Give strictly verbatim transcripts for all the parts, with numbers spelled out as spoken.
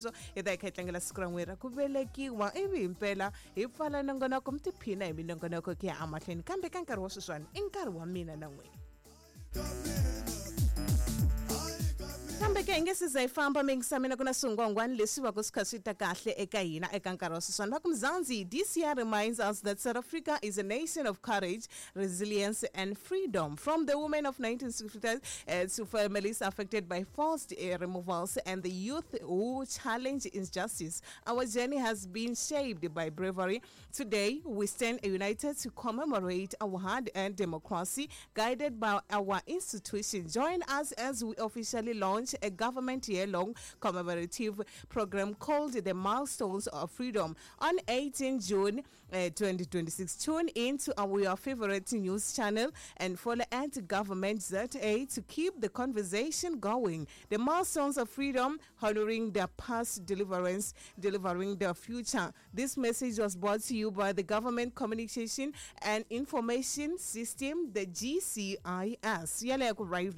Hi ta hi kha hi tlangela siku ra n'wina ra ku velekiwa, ivi himpela hi pfala nongonoko, mi tiphina hi minongonoko ku ya emahlweni. Kambe ka nkarhi wa sweswiwani i nkarhi wa mina na n'wina, kambe ke hi nge siza hi famba mingisa mina, ku na swingwangwani leswi va ku swi kha swi ta kahle eka hina eka nkarhi wa sweswiwani. Va ku Mzansi, this year reminds us that South Africa is a nation of courage, resilience and freedom. From the women of nineteen sixty-five uh, to families affected by forced uh, removals and the youth who challenge injustice, our journey has been shaped by bravery. Today we stand united to commemorate our hard-earned democracy, guided by our institution. Join us as we officially launch a government year-long commemorative program called the Milestones of Freedom on eighteen June uh, twenty twenty-six. Tune in to our your favorite news channel and follow at Government Z A to keep the conversation going. The Milestones of Freedom, honoring the past deliverance, delivering the future. This message was brought to you by the Government Communication and Information System, the G C I S. Yaleyo ku right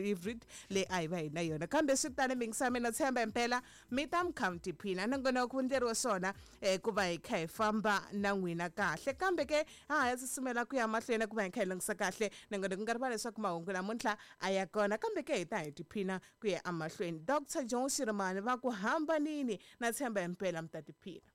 le a hi va hi na yona, kambe swi tani mingisa mina tshemba impela mi ta mi kha mi tiphina nongonoko ku ndleriwa swona um ku va hi kha hi famba na n'wina kahle. Kambe ke ha ha ya susumela ku ya mahlweni ku va hi kha hi langutisa kahle nongonoko, ku nga rivali leswaku mahungu namuntlha a ya kona, kambe ke hi ta hi tiphina ku ya emahlweni. Doctor John Shirimani va ku hambanini na tshemba impela mi ta tiphina.